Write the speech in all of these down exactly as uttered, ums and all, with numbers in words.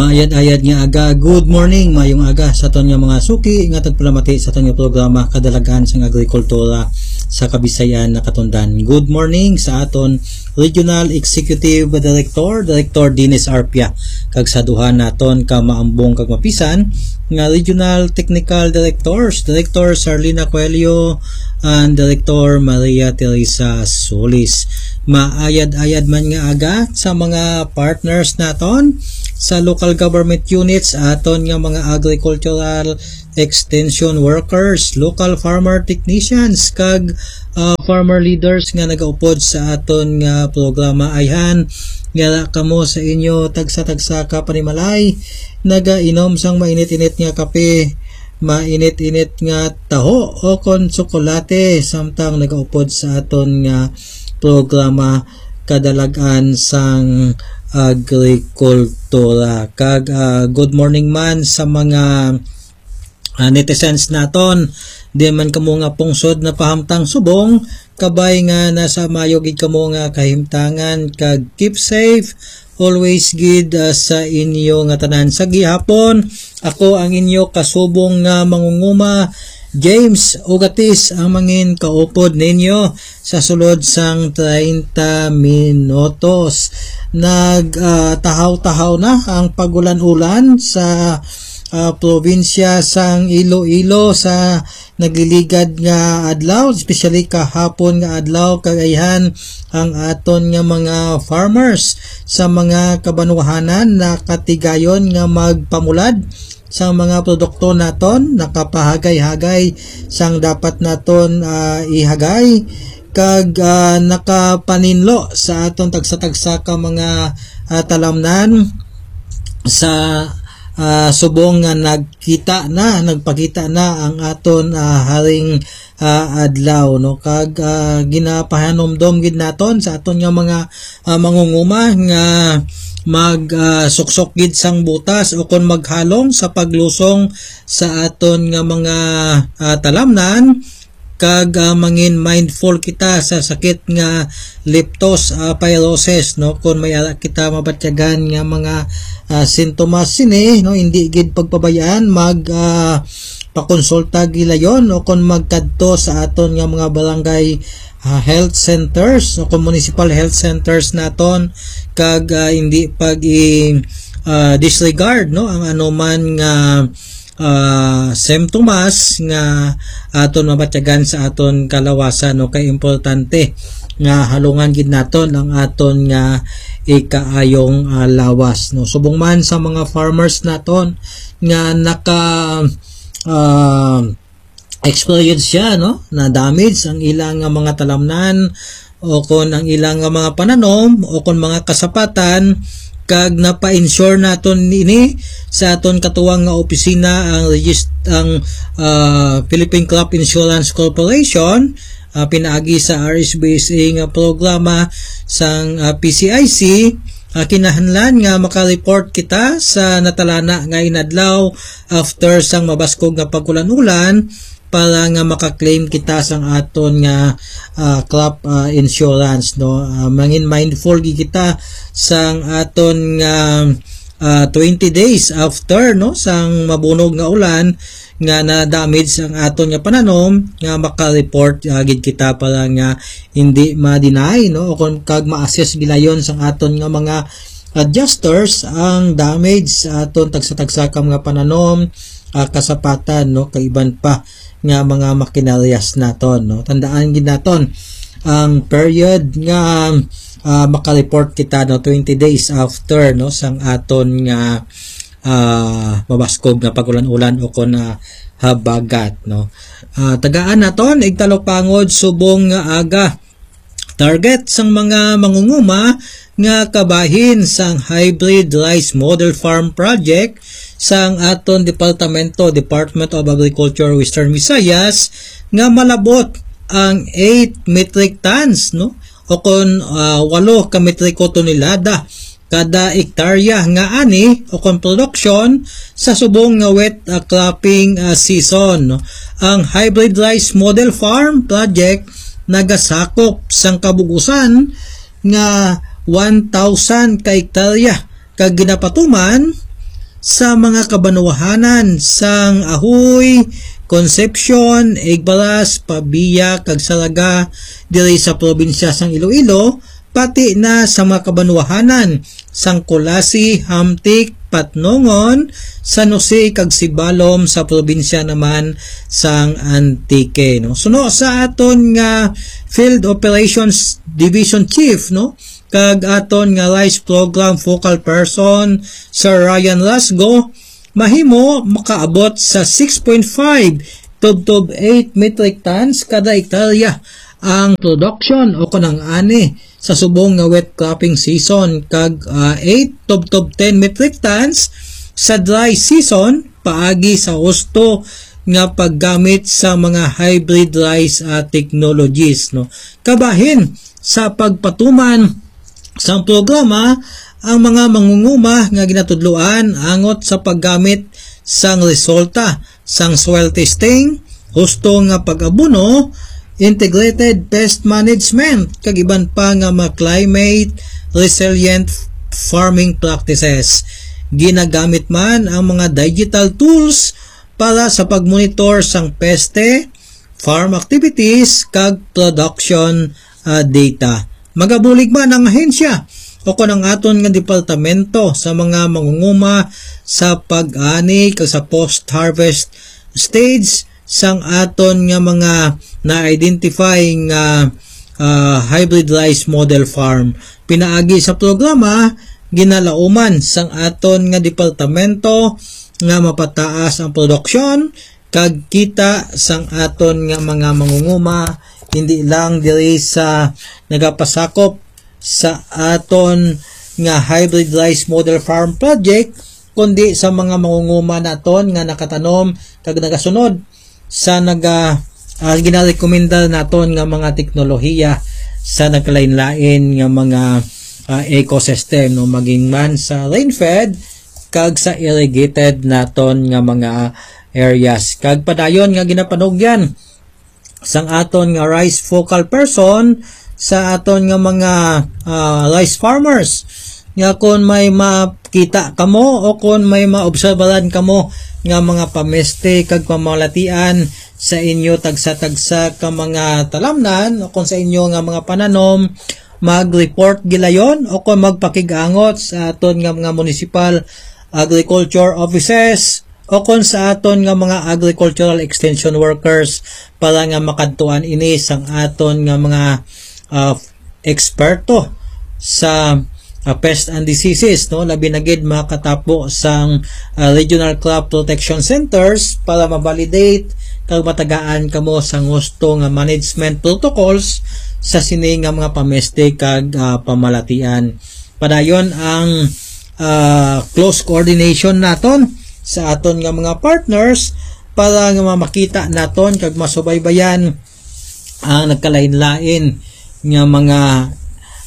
Ayad-ayad nga aga, good morning, mayong aga sa aton nga mga suki nga tagpalamati sa aton nga programa Kadalagan sang Agrikultura sa Kabisayan Nakatundan. Good morning sa aton Regional Executive Director, Director Dennis Arpia, kag sa duha naton ka maambong kag mapisan nga Regional Technical Directors, Director Sarlina Coelho and Director Maria Teresa Solis. Maayad-ayad man nga aga sa mga partners naton sa local government units, aton nga mga agricultural extension workers, local farmer technicians, kag, ah, farmer leaders nga nagaupod sa aton nga programa. Ayhan, yara kamo sa inyo tagsa-tagsa ka panimalay, nagainom sang mainit-init nga kape, mainit-init nga taho, o kon tsokolate, samtang nagaupod sa aton nga programa Kadalagan sang Agrikultura. Kag, ah, good morning man sa mga, ah, netizens naton. Di man kamo nga pungsod na pahamtang subong, kabay nga nasa mayo gid kamo nga kahimtangan, kag keep safe always gid, ah, sa inyo nga tanan. Sa gihapon, ako ang inyo kasubong nga mangunguma, James Ugatis, ang mangin kaupod ninyo sa sulod sang treinta minutos. Nag, ah, tahaw-tahaw na ang pagulan-ulan sa, ah, probinsya sang Iloilo sa nagliligad nga adlaw, especially kahapon nga adlaw, kag ayhan ang aton nga mga farmers sa mga kabanwahanan nakatigayon nga magpamulad sa mga produkto naton, nakapahagay-hagay sang dapat naton, ah, ihagay, kag, ah, nakapaninlo sa aton tagsa-tagsa ka mga, ah, talamnan sa, ah, subong nga nagkita na, nagpakita na ang aton, ah, haring, ah, adlaw, no? Kag, ah, ginapahanumdom gid naton sa aton nga mga, ah, mangunguma nga mag, ah, suksok gid sang butas o kon maghalong sa paglusong sa aton nga mga, ah, talamnan, kag, ah, mangin mindful kita sa sakit nga leptospirosis, no? Kon may ara kita mabatyagan nga mga, ah, sintomas sini, no, hindi gid pagpabayaan, mag, ah, pakonsulta gilayon o kon magkadto sa aton nga mga barangay, ah, health centers o kon municipal health centers naton, kag, ah, hindi pag i, ah, disregard, no, ang anuman nga, ah, simptomas nga aton mabatyagan sa aton kalawasan, no, kay importante nga halungan gid naton ang aton nga ikaayong, ah, lawas, no. Subong man sa mga farmers naton nga naka, ah, experience siya, no, na damage ang ilang nga mga talamnan o kon ang ilang nga mga pananom o kon mga kasapatan, kag napa-insure naton ini sa aton katuwang nga opisina, ang regist-, ang, ah, Philippine Crop Insurance Corporation, ah, pinaagi sa R S B S A nga programa sang, ah, P C I C. Ah, kinahanglan nga maka-report kita sa natalana nga inadlaw after sang mabaskog nga pag-ulan-ulan para nga maka-claim kita sang aton nga, ah, crop, ah, insurance, no? Ah, mangin mindful gid kita sang aton nga, ah, twenty days after, no, sang mabunog nga ulan nga na-damage ang aton nga pananom, nga maka-report, ah, gid kita para nga hindi ma-deny, no, o kon kag ma-assess gilayon sang aton nga mga adjusters ang damage sa aton tagsa-tagsa ka mga pananom, ah, kasapatan, no, kag iban pa nga mga makinaryas naton, no. Tandaan gid naton ang period nga, ah, maka-report kita, no, twenty days after, no, sang aton nga, ah, mabaskog nga pag-ulan-ulan o kon, ah, habagat, no. Ah, tagaan naton igtalupangod subong nga aga. Target sang mga mangunguma nga kabahin sang Hybrid Rice Model Farm Project sang aton departamento, Department of Agriculture, Western Visayas, nga malabot ang eight metric tons, no? O kon, ah, walo ka metriko tonelada kada ektarya nga ani o kon produksyon sa subong nga wet, ah, cropping, ah, season, no? Ang Hybrid Rice Model Farm Project nagasakop sang kabug-usan nga one thousand ka ektarya kag ginapatuman sa mga kabanwahanan sang Ajuy, Concepcion, Igbaras, Pavia, kag Zarraga diri sa probinsya sang Iloilo, pati na sa mga kabanwahanan sang Culasi, Hamtic, Patnongon, San Jose, kag Sibalom sa probinsya naman sang Antique, no? Suno sa aton nga Field Operations Division Chief, no, kag aton nga rice program focal person, Sir Ryan Lasgo, mahimo makaabot sa six point five tubtob eight metric tons kada hektarya ang production o kon ang ani sa subong nga wet cropping season, kag, ah, eight tubtob ten metric tons sa dry season paagi sa husto nga paggamit sa mga hybrid rice, ah, technologies, no. Kabahin sa pagpatuman sang programa ang mga mangunguma nga ginatudloan angot sa paggamit sang resulta sang soil testing, husto nga pag-abono, integrated pest management, kag iban pa nga mga climate resilient farming practices. Ginagamit man ang mga digital tools para sa pagmonitor sang peste, farm activities, kag production, ah, data. Magabulig man ang ahensya o kon ang aton nga departamento sa mga mangunguma sa pag-ani kag sa post-harvest stage sang aton nga mga na-identify nga, ah, hybrid rice model farm. Pinaagi sa programa, ginalauman sang aton nga departamento nga mapataas ang produksyon kag kita sang aton nga mga mangunguma, hindi lang diri sa nagapasakop sa aton nga hybrid rice model farm project, kundi sa mga mangunguma naton nga nakatanom kag nagasunod sa naga-, ah, ginarekomenda naton nga mga teknolohiya sa nagkalain-lain nga mga, ah, ecosystem, no, maging man sa rain-fed kag sa irrigated naton nga mga areas. Kag padayon nga ginapanugyan sang aton nga rice focal person sa aton nga mga, ah, rice farmers, nga kon may makita kamo o kon may maobserbaran kamo nga mga pameste kag pamalatian sa inyo tagsa-tagsa ka mga talamnan o kon sa inyo nga mga pananom, mag-report gilayon o kon magpakig-angot sa aton nga mga municipal agriculture offices o kon sa aton nga mga agricultural extension workers para nga makadtuan ini sang aton nga mga, ah, eksperto sa, ah, pest and diseases, no? Labi na gid makatapo sang, ah, regional crop protection centers para ma-validate kag matagaan kamo sang husto nga management protocols sa sini nga mga pameste kag, ah, pamalatian. Padayon ang, ah, close coordination naton sa aton nga mga partners para nga makita naton kag masubaybayan ang nagkalain-lain nga mga,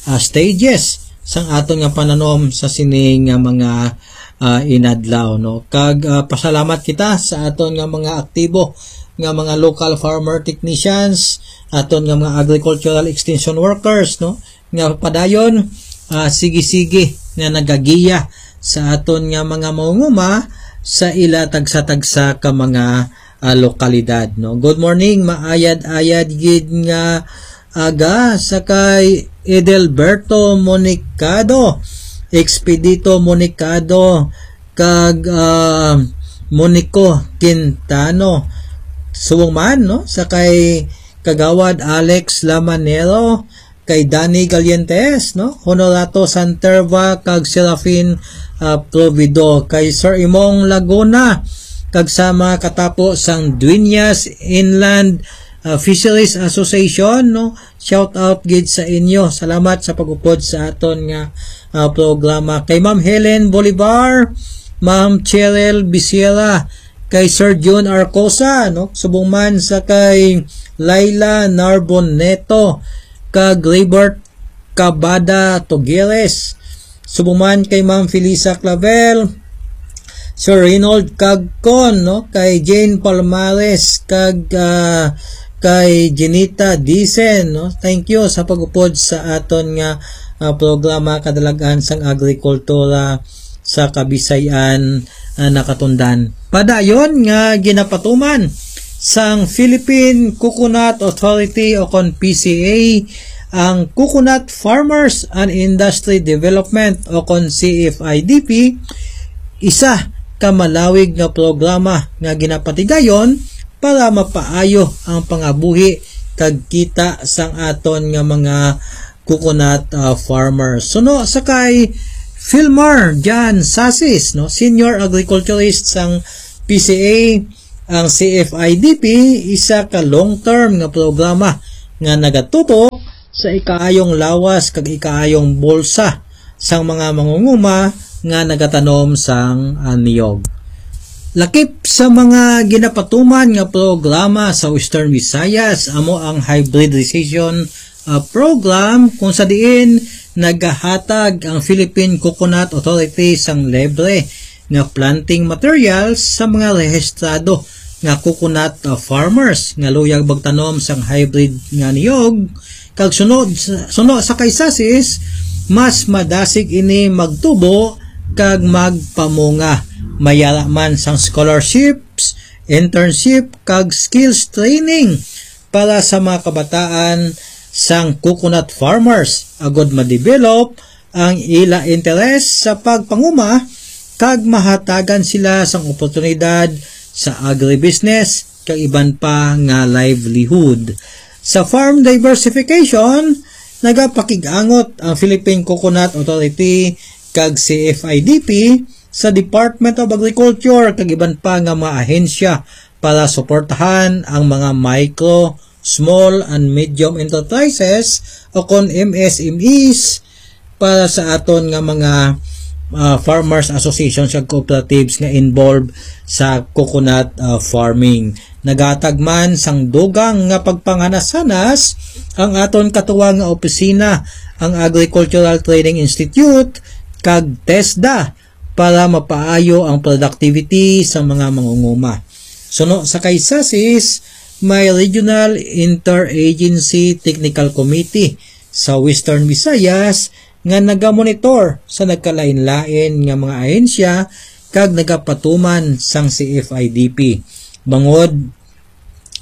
ah, stages sang aton nga pananom sa sini nga mga, ah, inadlaw, no? Kag, ah, pasalamat kita sa aton nga mga aktibo nga mga local farmer technicians, aton nga mga agricultural extension workers, no, nga padayon, ah, sige-sige nga nagagiya sa aton nga mga mangunguma sa ila tagsa-tagsa ka mga, ah, lokalidad, no. Good morning, maayad-ayad gid nga aga sa kay Edelberto Monicado, Expedito Monicado, kag, ah, Monico Quintano. Subong man, no, sa kay Kagawad Alex Lamanero, kay Danny Galientes, no, Honorato Santerva, kag Serafin, ah, Provido, kay Sir Imong Laguna, kag sa mga katapo sang Dueñas Inland, ah, Fisheries Association, no, shout out gid sa inyo. Salamat sa pag-upod sa aton nga, ah, programa. Kay Ma'am Helen Bolivar, Ma'am Cheryl Bisiera, kay Sir Jun Arcosa, no? Subong man sa kay Laila Narbonneto, kag Libert Cabada Togueres. Subong man kay Ma'am Felisa Clavel, Sir Reynold Cagcon, no? Kay Jane Palmares, kag, ah, kay Jenita Dicen, no? Thank you sa pag-upod sa aton nga, ah, programa, Kadalagan sang Agrikultura. sa Kabisayan, ah, nakatundan. Padayon nga ginapatuman sang Philippine Coconut Authority o kon P C A ang Coconut Farmers and Industry Development o kon C F I D P, isa ka malawig nga programa nga ginapatigayon para mapaayo ang pangabuhi kag kita sang aton nga mga coconut, ah, farmers. Suno sa kay Philmar Jan Sasis, no, senior agriculturist sang P C A, ang C F I D P isa ka long-term nga programa nga nagatutok sa ikaayong lawas kag ikaayong bulsa sang mga mangunguma nga nagatanom sang, ah, niyog. Lakip sa mga ginapatuman nga programa sa Western Visayas amo ang hybridization, ah, program, kung sa diin nagahatag ang Philippine Coconut Authority sang libre nga planting materials sa mga rehistrado nga coconut, ah, farmers nga luyag magtanom sang hybrid nga niyog, kag sunod suno sa kay Sasis, mas madasig ini magtubo kag magpamunga. Mayara man sang scholarships, internship, kag skills training para sa mga kabataan sang coconut farmers agud ma-develop ang ila interes sa pagpanguma kag mahatagan sila sang oportunidad sa agribusiness kag iban pa nga livelihood. Sa farm diversification, nagapakig-angot ang Philippine Coconut Authority kag C F I D P sa Department of Agriculture kag iban pa nga mga ahensya para suportahan ang mga micro, small and medium enterprises o kon M S M Es para sa aton nga mga, ah, farmers associations kag cooperatives nga involved sa coconut, ah, farming. Nagahatag man sang dugang nga pagpanghanas-hanas ang aton katuwang nga opisina, ang Agricultural Training Institute kag TESDA, para mapaayo ang productivity sa mga mangunguma. Suno sa kay Sasis, may Regional Interagency Technical Committee sa Western Visayas nga nagamonitor sa nagkalain-lain nga mga ahensya kag nagapatuman sang C F I D P, bangod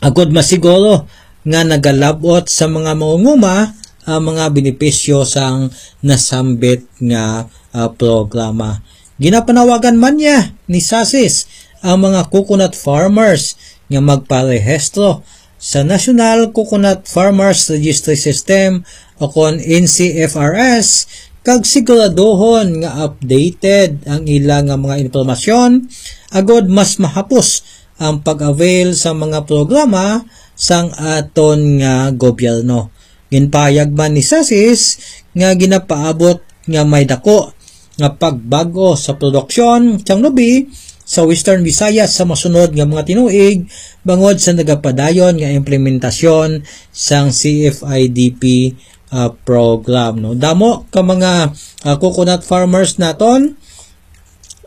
agud masiguro nga nagalab-ot sa mga mangunguma ang mga benepisyo sang nasambit nga, ah, programa. Ginapanawagan man niya ni Sasis ang mga coconut farmers nga magparehistro sa National Coconut Farmers Registry System o kon N C F R S, kag siguraduhon nga updated ang ila nga mga impormasyon agud mas mahapos ang pag-avail sa mga programa sang aton nga gobyerno. Ginpahayag man ni Sasis nga ginapaabot nga may dako nga pagbag-o sa produksyon sang lubi sa Western Visayas sa masunod nga mga tinuig bangod sa nagapadayon nga implementasyon sang C F I D P, ah, program, no. Damo ka mga, ah, coconut farmers naton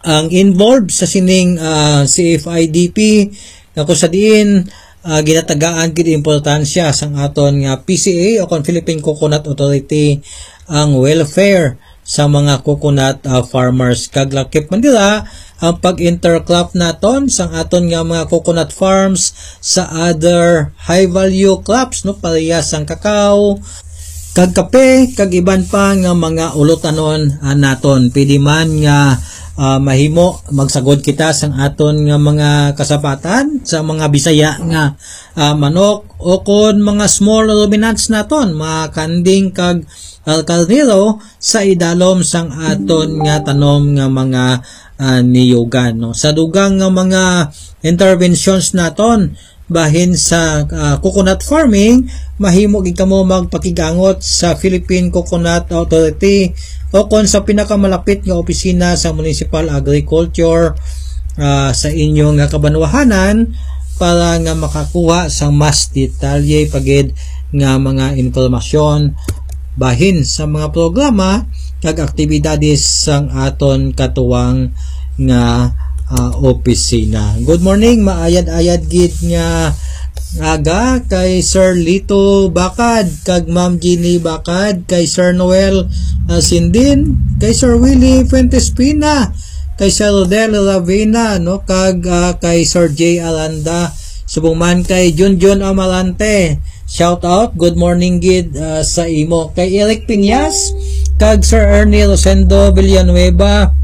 ang involved sa sining, ah, C F I D P, nga kung sa diin, ah, ginatagaan gid importansya sang aton nga P C A o kon Philippine Coconut Authority ang welfare sa mga coconut, ah, farmers. Kag lakip man dira ang pag-intercrop naton sang aton nga mga coconut farms sa other high value crops, no, parehas sang kakao, kag kape, kag iban pa nga mga ulutanon, ah, naton. Pwede man nga, ah, mahimo magsagod kita sang aton nga mga kasapatan sa mga Bisaya nga, ah, manok o kon mga small ruminants naton, mga kanding kag, ah, karnero sa idalom sang aton nga tanom nga mga, ah, niyugan, no. Sa dugang nga mga interventions naton, bahin sa, ah, coconut farming, mahimo gid kamo magpakigangot sa Philippine Coconut Authority o kon sa pinakamalapit nga opisina sa Municipal Agriculture, ah, sa inyo nga kabanwahanan para nga makakuha sa mas detalye pa gid nga mga impormasyon bahin sa mga programa kag aktibidades sang aton katuwang nga, ah, opisina. Good morning, maayad-ayad gid nga aga kay Sir Lito Bakad kag Ma'am Jeannie Bakad, kay Sir Noel, ah, Sindin, kay Sir Willie Fuentes Pina, kay Sir Rodel Lavina, no, kag ah, kay Sir J Alanda, subong man kay Junjun Amalante. Shout out, good morning gid ah, sa imo. Kay Eric Piñas, kag Sir Ernie Rosendo Villanueva,